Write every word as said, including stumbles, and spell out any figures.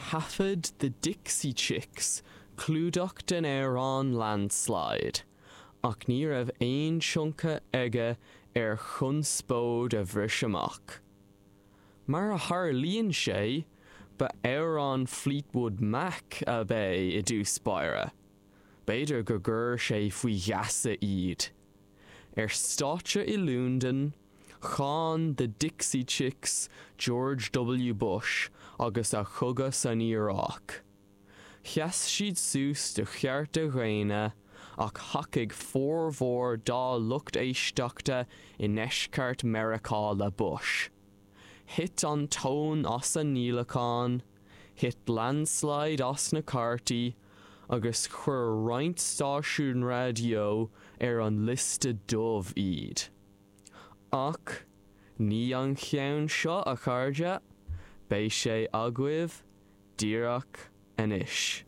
Thaifead The Dixie Chicks clúdach den amhrán Landslide, ach ní raibh aon tionchar aige ar chonspóid a bhris amach. Mar a tharlaíonn sé, ba amhrán Fleetwood Mac ab é i dtús báire. B'fhéidir gur chuir sé faoi gheasa iad. Ar stáitse i Londain, cháin The Dixie Chicks George W. Bush agus a chogadh san Iaráic. Sheas siad suas do chearta daonna ach thacaigh formhór dá lucht éisteachta i ndeisceart Meiriceá le Bush. Thit an tóin as a ndíolacháin, thit Landslide as na cártaí, agus chuir roinnt stáisiún raidió ar an liosta dubh iad. Ach ní an ceann seo a chairde, beidh sé agaibh díreach anois.